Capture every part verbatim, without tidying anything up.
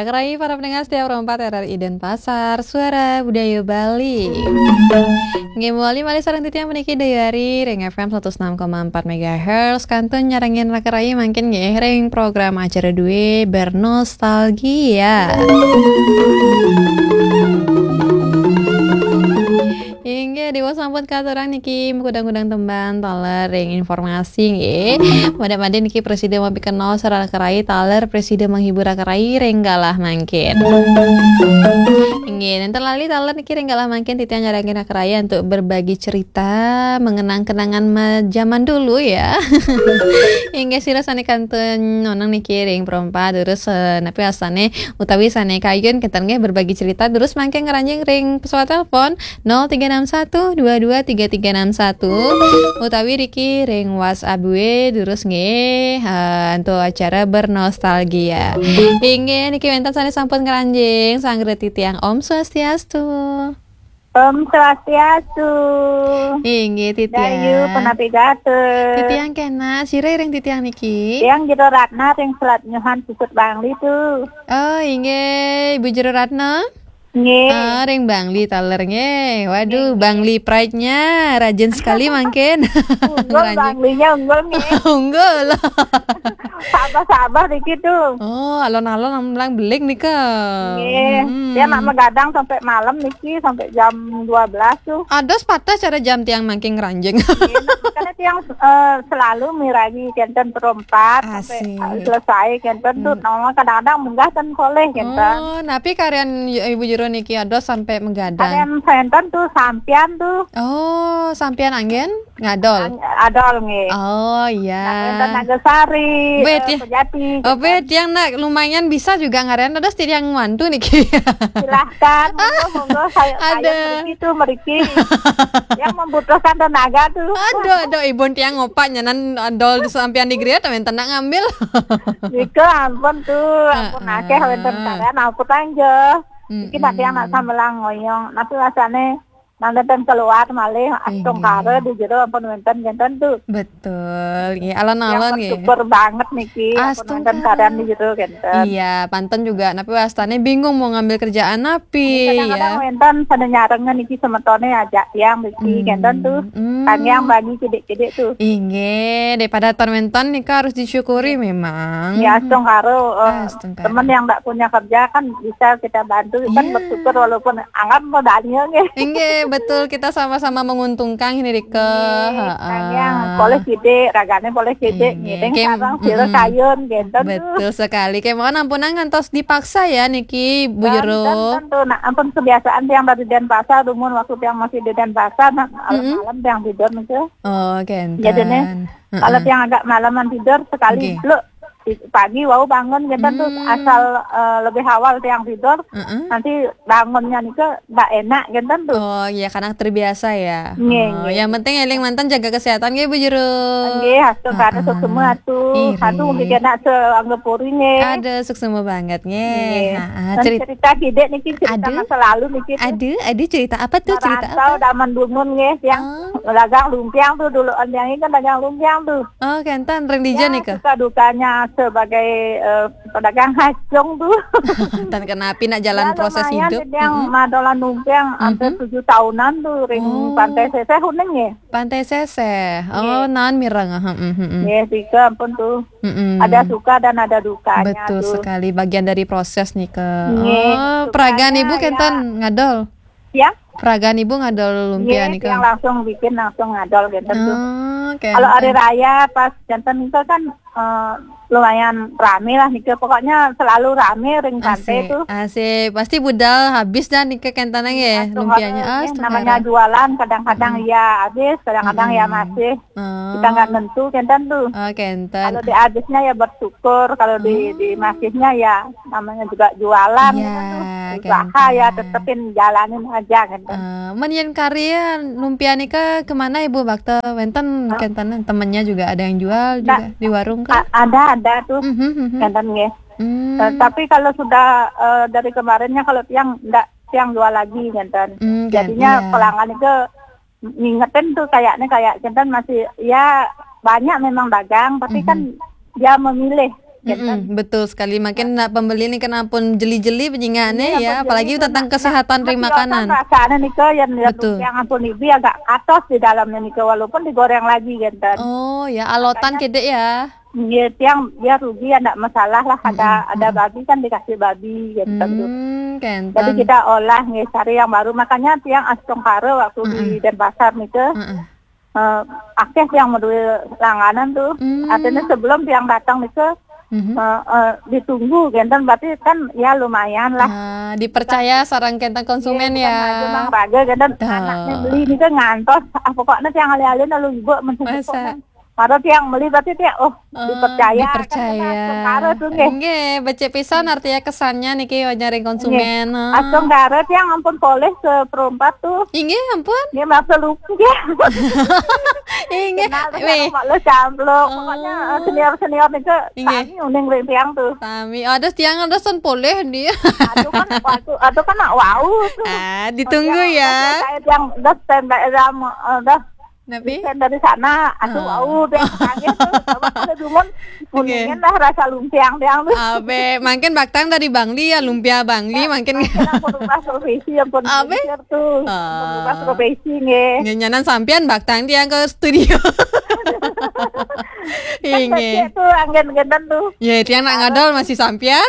Kerai para pendengar setia Pro empat R R I Denpasar, Suara Budaya Bali. Nggih, mawali malih sareng titiang puniki Dayari ring F M satus enam koma empat megahertz, kantun nyarengin raka rayi mangkin nggih ring program acara duwe Bernostalgia. Inggih, Dewa sampun katurang niki makudang-kudang tembang taler ring informasi nggih. Mada-mada niki prasida mapikenoh sareng raka rayi taler prasida menghibur raka rayi ring galah mangkin. Inggih, nenten lali taler niki ring galah mangkin titiang nyarengin raka rayi untuk berbagi cerita mengenang kenangan ma-, zaman dulu ya. Inggih, sira sane kantun nonang niki ring Pro empat terus, eh, napi wastane utawi sane kayun kenten nggih berbagi cerita terus mangkin ngranjing ring pesawat telepon nol tiga enam satu dua dua tiga tiga enam satu utawi riki ring WhatsApp duwe terus nggih, eh, untuk acara Bernostalgia. Inggih, niki wenten sane sampun ngranjing, sanggra titiang Om Swastiastu. Om Swastiastu. Inggih, titiang. Dayu, penapi gatra? Titiang kenak, sira ring titiang niki? Tiang Jero Ratna ring Selat Nyuhan, Sisut, Bangli tu. Oh, inggih, Ibu Jero Ratna? Nggih. Ah, ring Bangli taler nggih. Waduh, nggih, nggih. Bangli pride-nya rajin sekali mangkin. Unggul, ngranjing. Banglinya unggul nggih. Unggul. Sabar-sabar dikit tu. Oh, alon-alon mlang beling nika. Nggih. Hmm. Tiang nak magadang sampai malam niki, sampai jam dua belas tu. Ados pateh cara jam tiang mangkin ngranjing. Nggih, nah, makanya tiang, eh, selalu mirengi kenten Pro empat sampai, asik, eh, selesai kenten tu. Hmm. Nah, kadang-kadang munggah ten polih kenten. Oh, napi karyan Ibu Jero niki ados sampai magadang? Karyan kenten tu sampian tu. Oh, sampian anggen? Ngadol? Ang-, adol nggih. Oh, iya. Nah, wenten Nagasari, bet, eh, ya. Pejati, oh, gitu. Bet, yang nak lumayan bisa juga ngaren, terus tiang wantu niki. Silahkan, monggo, monggo, saya, saya ada. Meriki tu, meriki. Yang membutuhkan tenaga tu. Aduh, aduh, Ibun tiang ngopak nyanan adol sampian di griya, wenten nak ngambil. Nika ampun tu, ampun, heeh, akeh wenten kalian, ampun aja. Iki nak tiang nak sambelang ngoyong, tapi rasane nang nenten keluar malih, astungkara di jero ampun wenten kenten tu. Betul, nggih. Alon-alon nggih. Yang bersyukur banget niki, ampun wenten astungkara. Kalian di jero kenten. Iya, panten juga, napi wastane bingung mau ngambil kerjaan napi, ya. Kadang-kadang wenten pada nyarengin niki semetone ajak tiang niki kenten tu. Hmm. Tanggiang bagi kidik-kidik tu. Inggih, daripada ton wenten nika harus disyukuri memang. Ya, astungkara, eh, astungkara. Teman yang tak punya kerja kan bisa kita bantu, kan bersyukur walaupun anggap modalnya nggih. Inggih, betul, kita sama-sama menguntungkan ini, Rika. Nggih, heeh. Yang poleh sidik, ragane poleh sidik, nggih, ngiring sareng sira kayun, gitu. Betul sekali. Kemawon ampunang ngantos dipaksa ya niki, Bu Jero. Tentu, nah, ampun kebiasaan tiang dari Denpasar, dumun waktu tiang masih di Denpasar, nah, malam-malam tiang tidur niku. Oh, kenten. Jadine, kalau tiang agak malaman tidur, sekali bluk, di-, pagi wau bangun, gitu tuh, asal, eh, lebih awal tiang tidur, nanti bangunnya niku ndak enak, gitu tuh. Oh, iya, karena terbiasa ya. Nggih, oh, nggih. Yang penting eling manten jaga kesehatan nggih, Bu Jero. Nggih, astungkara suksma atu. Iri. Atu mungkin kena seanggepuri nggih. Ada suksma banget nggih. Nggih. Dan cerita kidik niki, cerita masa lalu niki. Ada, ada cerita apa tuh, cerita apa? Merantau zaman dumun nggih, yang dagang lumpiang tuh dulu, tiang ini kan dagang lumpiang tuh. Oh, kenten ring dija nika. Ya, suka dukanya sebagai, eh, pedagang hacung tuh. Dan kenapi nak jalan proses hidup. Ya, lumayan, yang madolan lumpiang hampir tujuh tahunan tuh ring Pantai Seseh uning nggih. Pantai Seseh. Oh, naon mireng. Heeh, heeh. Nggih, nika ampun tuh. Ada suka dan ada dukanya tuh. Betul sekali, bagian dari proses nika. Nggih, oh, peragaan sukanya ibu kenten ngadol. Ya? Peragaan ibu ngadol lumpia nika. Nggih, yang langsung bikin, langsung ngadol kenten tuh. Oh, kenten. Kalau hari raya pas kenten nika kan, eh, lumayan rame lah nika. Pokoknya selalu rame ring pantai tuh. Asik, asik. Pasti budal habis dah nika kenten nggih, lumpianya. Nggih, namanya jualan, kadang-kadang ya habis, kadang-kadang ya masih. Kita nggak nentu, kenten tuh. Oh, kenten. Kalau di habisnya ya bersyukur, kalau di, di masihnya ya namanya juga jualan, kenten tuh. Usaha ya, tetepin jalanin aja, kenten. Eh, men yen karya lumpia nika kemana Ibu Bakta? Wenten kenten, temennya juga ada yang jual juga di warung kan? A-, ada, ada tuh, kenten nggih. Eh, tapi kalau sudah, eh, dari kemarinnya kalau tiang ndak, tiang jual lagi, kenten. Jadinya pelanggan itu ngingetin tuh kayaknya kayak kenten masih, ya, banyak memang dagang, tapi kan dia memilih. Kan? Mm-mm, betul sekali. Makin nak pembeli nih kan ampun jeli-jeli penyingané ya, apalagi tentang kesehatan ring makanan. Rasanya nih ke yang lihat betul. Yang ampun ibi agak atos di dalamnya nih ke, walaupun digoreng lagi kan. Oh ya, alotan kedek ya. Iya, tiang biar rugi ya ndak masalah lah. Ada mm-mm, ada mm-mm. Babi kan dikasih babi kan. Hmm, kenten. Jadi kita olah nih, cari yang baru. Makanya tiang astungkara waktu mm-mm. Di Denpasar nih ke. Mm-mm. Eh, akeh tiang madué langganan tuh. Hmm. Artinya sebelum tiang datang nih ke mm-hmm. Eh, eh, ditunggu kenten berarti kan ya lumayan lah. Ah, dipercaya sareng kenten konsumen ya. Raga kenten anaknya beli nih ke ngantos ah, pokoknya tiang alih-alih lalu ibu mencukup. Masa? Kalau tiang beli berarti tiang oh, oh dipercaya. Dipercaya. Kan astungkara tuh nggih. Nggih, becik pisan artinya kesannya niki nyaring konsumen. Astungkara tiang ampun polih seperempat tuh. Inggih, ampun. Nggih, maaf lupa ya. Inggih. Kenal terus sama lo camplok. Pokoknya eh, senior-senior nih ke inggih. Sami uning ring tiang tuh. Sami. Ada tiang ada son polih dia. Aduh kan waktu aduh kan nak wau tuh. Ah, ditunggu ya. Saya tiang udah standby sama eh, udah Napi? Desain dari sana, aduh, ah. Au, dia kaget tuh. Coba kalau dumun, okay. Kuningin dah rasa lumpiang dia tuh. Abe, makin baktang dari Bangli ya, lumpia Bangli makin. Makin ampun ubah profesi, ampun abe? Mikir tuh. Ah. Ampun ubah profesi nggih. Nyanyanan sampean baktang dia ke studio. Kan inggih. Becik tuh, anggen-anggenan tuh. Ya, tiang nak ngadol masih sampean.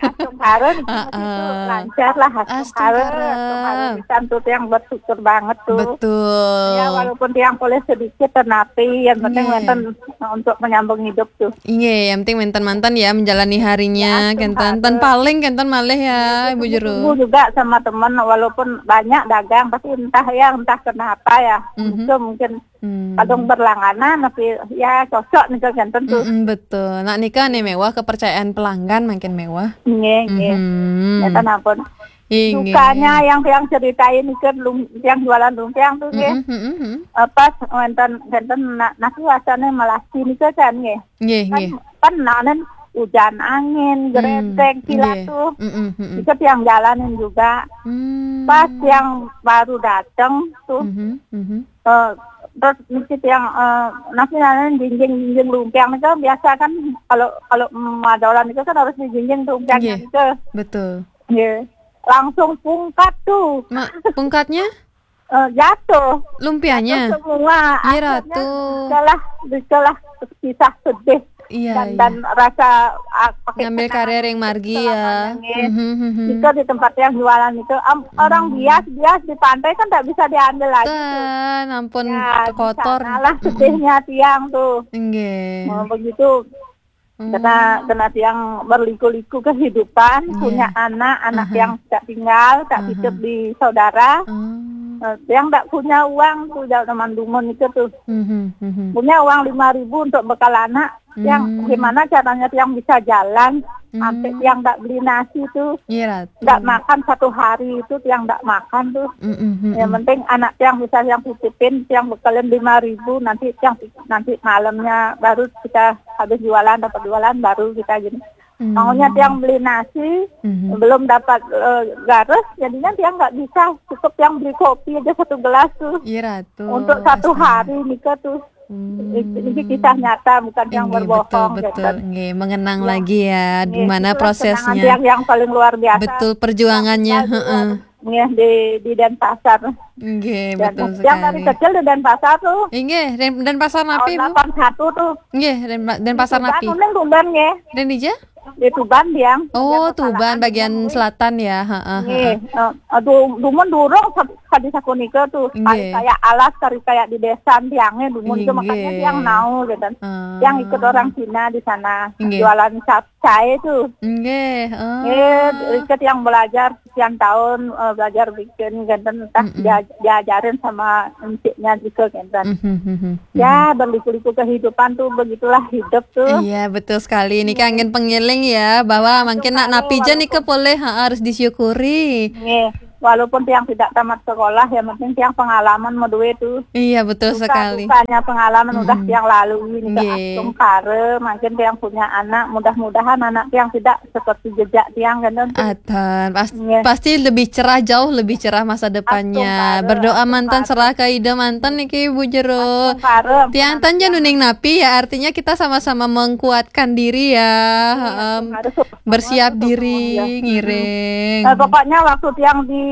Astungkara di situ lancar lah, astungkara. Astungkara. Astungkara pisan tuh tiang bersyukur banget tuh. Betul. Ya, walaupun tiang boleh sedikit tetapi yang penting iya. Wénten untuk menyambung hidup tuh. Iya, yang penting wénten manten ya menjalani harinya, ya, kenten. Ten paling kenten malih ya, ya, Ibu Jero. Tunggu juga sama teman walaupun banyak dagang tapi entah ya, entah kenapa ya. Mm-hmm. Itu mungkin Hmm. Kadung berlangganan tapi ya cocok nih kan tentu. Mm-mm, betul. Nak nikah nih mewah kepercayaan pelanggan makin mewah. Nggih, nggih. Mhm. Ya kan ampun. Inggih. Dukanya yang yang ceritain itu lum, yang jualan lumpiang tuh nggih. Mm-mm, mm-mm. Eh, pas wénten wénten nak nak rasanya melasi nih kan nggih. Nggih, kan, nggih. Kan nanen hujan angin, hmm, geredek kilat nggih. Tuh. Mm-mm, mm-mm. Itu yang jalanin juga. Hmm. Pas yang baru datang tuh. Mhm, mhm. Eh, terus mesti yang eh, nasi nanen jinjing-jinjing lumpiang itu biasa kan kalau kalau madolan itu kan harus dijinjing lumpiangnya nggih, itu. Betul. Nggih. Langsung pungkat tuh. Ma, pungkatnya? Eh, jatuh. Lumpianya? Jatuh semua. Iya, akhirnya Ratu. Itulah, itulah kisah sedih. Iya, dan, iya. Dan rasa ah, pakai ngambil karir yang margi ya. Mhm, mhm. Itu di tempat yang jualan itu am, orang hmm. Bias-bias di pantai kan tak bisa diambil lagi tuh. Ten, ampun ya, kotor. Malah sedihnya tiang tuh. Nggih. Oh, begitu. Hmm. Karena karena tiang berliku-liku kehidupan, nggih. Punya anak, anak aha. Yang tak tinggal, tak aha. Hidup di saudara. Hmm. Eh, yang tak punya uang tuh jauh teman dumun itu tuh. Mhm, mhm. Punya uang lima ribu untuk bekal anak. Yang hmm. Gimana caranya yang bisa jalan hmm. Sampai yang nggak beli nasi tuh iya, nggak makan satu hari itu yang nggak makan tuh hmm, hmm, hmm, yang penting anak yang bisa yang titipin yang bekalin lima ribu nanti yang nanti malamnya baru kita habis jualan dapat jualan baru kita gini hmm. Maunya yang beli nasi hmm. Belum dapat uh, garis jadinya yang nggak bisa cukup yang beli kopi aja satu gelas tuh iya, Ratu. Untuk satu astaga. Hari nikah tuh Hmm. Ini kisah nyata bukan yang berbohong. Betul, betul. Nggih, mengenang ya. Lagi ya, nggih, gimana prosesnya. Yang, yang paling luar biasa. Betul perjuangannya, heeh. Nggih di di Denpasar. Nggih, betul sekali. Yang dari kecil di Denpasar tuh. Nggih, Den, Denpasar napi, Bu? Tahun delapan satu tuh. Nggih, Den, Denpasar napi. Kuning Tuban nggih. Den dija? Di Tuban dia. Oh, Tuban bagian selatan ya. Heeh. Nggih. Aduh, dumun durung tadi sakunika tuh. Nggih. Kari kayak alas, kari kayak di desa tiangnya dumun itu makanya tiang nau gitu. Ah. Yang ikut orang Cina di sana. Nggih. Jualan capcay tuh. Nggih. Oh. Nggih, ikut yang belajar sekian tahun eh, belajar bikin gitu entah dia- diajarin sama enciknya gitu gitu. Mhm, mhm. Ya, berliku-liku kehidupan tuh begitulah hidup tuh. Iya, betul sekali. Ini kan angin pengiling ya, bahwa mungkin nak napi aja nih boleh ha, harus disyukuri. Nggih. walaupun tiang tidak tamat sekolah, yang penting tiang pengalaman madue tu. Iya, betul sekali. Suka-sukanya pengalaman udah tiang lalui ni. Nggih. Astungkara, mangkin tiang punya anak, mudah-mudahan anak tiang tidak seperti jejak tiang, kan, tu. Atan, pas-, nggih, pasti lebih cerah, jauh lebih cerah masa depannya. Astungkara, berdoa manten, astungkara, serah ke Ida manten niki, Bu Jero. Astungkara, tiang tan jan uning napi ya, artinya kita sama-sama menguatkan diri ya. Iya, heeh. Astungkara, bersiap diri, ngiring. Nah, pokoknya waktu tiang di,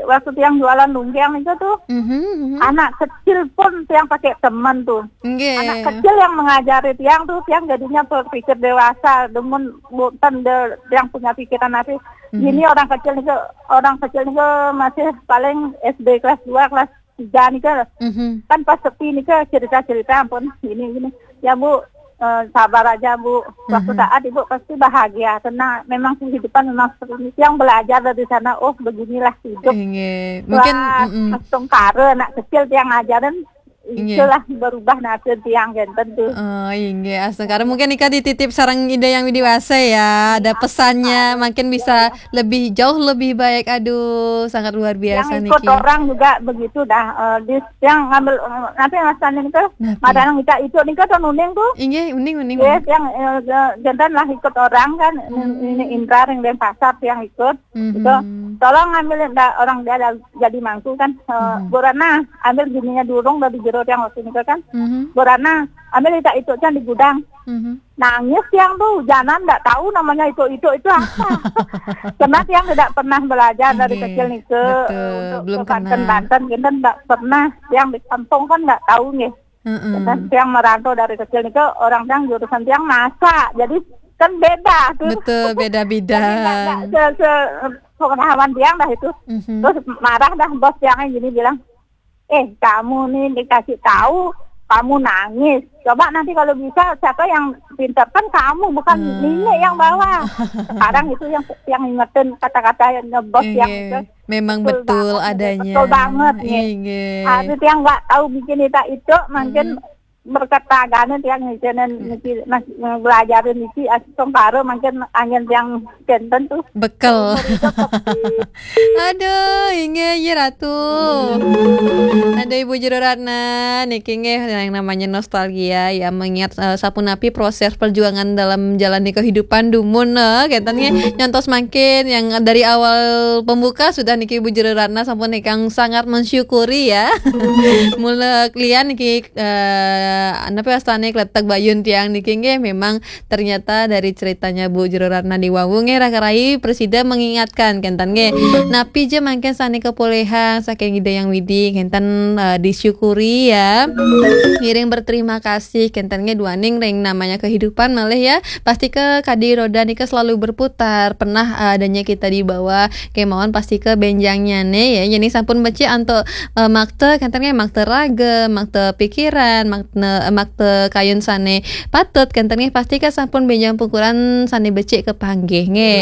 waktu tiang jualan lungkeng itu tuh, mhm, mhm, anak kecil pun tiang pakai teman tuh. Nggih. Anak kecil yang mengajari tiang tuh, tiang jadinya berpikir dewasa, demun bukan de-, yang punya pikiran nanti. Mhm. Gini orang kecil itu, orang kecil itu masih paling S D kelas dua, kelas tiga nih, Kak. Mhm. Kan pas sepi nih, Kak, cerita-cerita, ampun, gini, gini. Ya, Bu, eh, sabar aja, Bu. Suatu saat Ibu pasti bahagia, tenang. Memang kehidupan memang seperti ini. Yang belajar dari sana, oh, beginilah hidup. Nggih. Mungkin, wah, mm-mm, astungkara anak kecil tiang ngajarin, nggih, itulah berubah nasib tiang, kan, tentu. Oh, nggih, astungkara. Mungkin nika dititip sareng Ida Yang Widi Wasa ya. Ada pesannya, mungkin bisa lebih jauh, lebih baik. Aduh, sangat luar biasa niki. Yang ikut orang juga begitu dah. Eh, di, yang ngambil, eh, nanti masalahnya nika, napi? Madang kita itu nika tuh nuning tuh. Inggih, uning, uning, yes, uning. Yang, eh, jantan lah ikut orang kan, ini Indra yang Denpasar yang ikut. Mhm. Itu, tolong ambil ndak orang dia ada jadi mangku kan. Eh, mhm. Bu Ratna, ambil gininya durung dari jero yang waktu nika kan. Mhm. Bu Ratna, ambil itu itu kan di gudang. Mhm. Nangis tiang tuh, hujanan ndak tahu namanya itu, itu, itu apa. Karena tiang tidak pernah belajar dari kecil nih ke, nggih, betul, untuk belum ke Banten, kenal. Banten, kita ndak pernah. Tiang di kampung kan ndak tahu nih. Heeh. Kita tiang merantau dari kecil nih ke orang tiang jurusan tiang masak. Jadi kan beda tuh. Betul, beda-beda. Jadi nggak, nggak se-, se-, pengetahuan tiang dah itu. Mhm. Terus marah dah bos tiangnya gini bilang, "Eh, kamu nih dikasih tahu, kamu nangis. Coba nanti kalau bisa, siapa yang pintar? Kan kamu, bukan nenek yang bawa." Sekarang itu yang, yang ingetin kata-kata yang ngebos yang itu. Memang betul adanya. Betul banget, nih. Inggih. Habis yang nggak tahu bikin itu, itu, mungkin berkat tagane tiang ngijenen niki, mas, belajarin niki, astungkara mungkin angin tiang jantan tuh. Bekel. Umur itu sepi. Aduh, inggih, iya, Ratu. Ada Ibu Jero Ratna, niki nggih yang namanya nostalgia, ya, mengingat, eh, sapunapi proses perjuangan dalam jalani kehidupan dumun, eh, kenten nggih, nyontos mangkin yang dari awal pembuka sudah niki Ibu Jero Ratna sampun ingkang sangat mensyukuri, ya. Mula klian niki, eh, napa wastane kletek bayun tiang niki nggih, memang ternyata dari ceritanya Bu Jero Ratna di wau nggih, Raka Rai presida mengingatkan kenten nggih. Napi ja mangkin sane kapolihang saking Ida Yang Widi kenten, eh, disyukuri ya. Ngiring berterima kasih kenten nggih duaning ring namanya kehidupan malih ya. Pasti ke kadi roda nika selalu berputar, pernah, eh, adanya kita di bawah kemauan pasti ke benjangnya nih ya. Jadi sampun becik antuk, eh, makta kenten nggih, makta raga, makta pikiran, makna, makta kayun sane patut kenten nggih, pasti ke sampun benjang pukuran sane becik kepanggih nggih.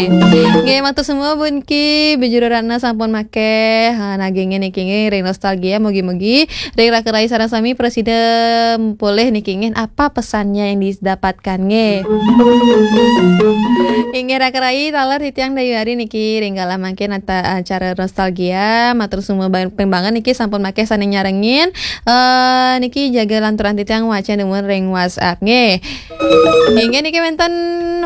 Nggih, matur semua pun ki Bu Jero Ratna sampun makeh, ha, nagingin niki nggih ring nostalgia, mugi-mugi ring Raka Rai sareng sami presida polih niki nggih, apa pesannya yang didapatkan nggih. Inggih Raka Rai, taler titiang dayu hari niki ring galah mangkin ata-, acara nostalgia, matur semua ba-, pembangan niki sampun makeh sane nyarengin, eh, niki jaga lanturan titiang wacan dumun ring WhatsApp nggih. Inggih niki wenten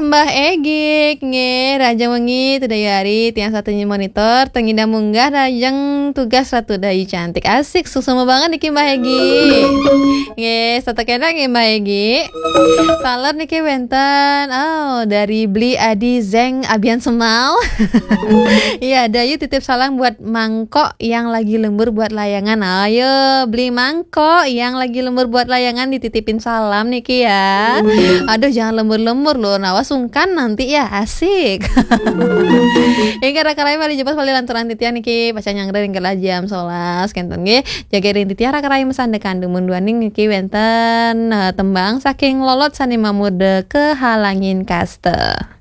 Mbah Egik nggih, rahajeng wengi, tudah hari, tiang satunya monitor, tengidang munggah, rahajeng tugas Ratu Dayu cantik. Asik, suksma banget niki Mbah Egik. Nggih, setata kena nggih Mbah Egik. Taler niki wenten, oh, dari Bli Adi Zeng Abian Semal. Iya, Dayu titip salam buat mangkok yang lagi lembur buat layangan. Ayo, beli mangkok yang lagi lembur buat layangan dititipin salam niki ya. Aduh, jangan lembur-lembur loh, nawa sungkan nanti ya, asik. Inggih Raka Rai malih jebos malih lanturan titiang niki pacang nyanggra ring galah jam solas kenten nggih. Jaga ring titiang Raka Rai masandekan dumun duaning niki wenten, eh, tembang saking Lolot sane mamurda Kehalangin Kasta.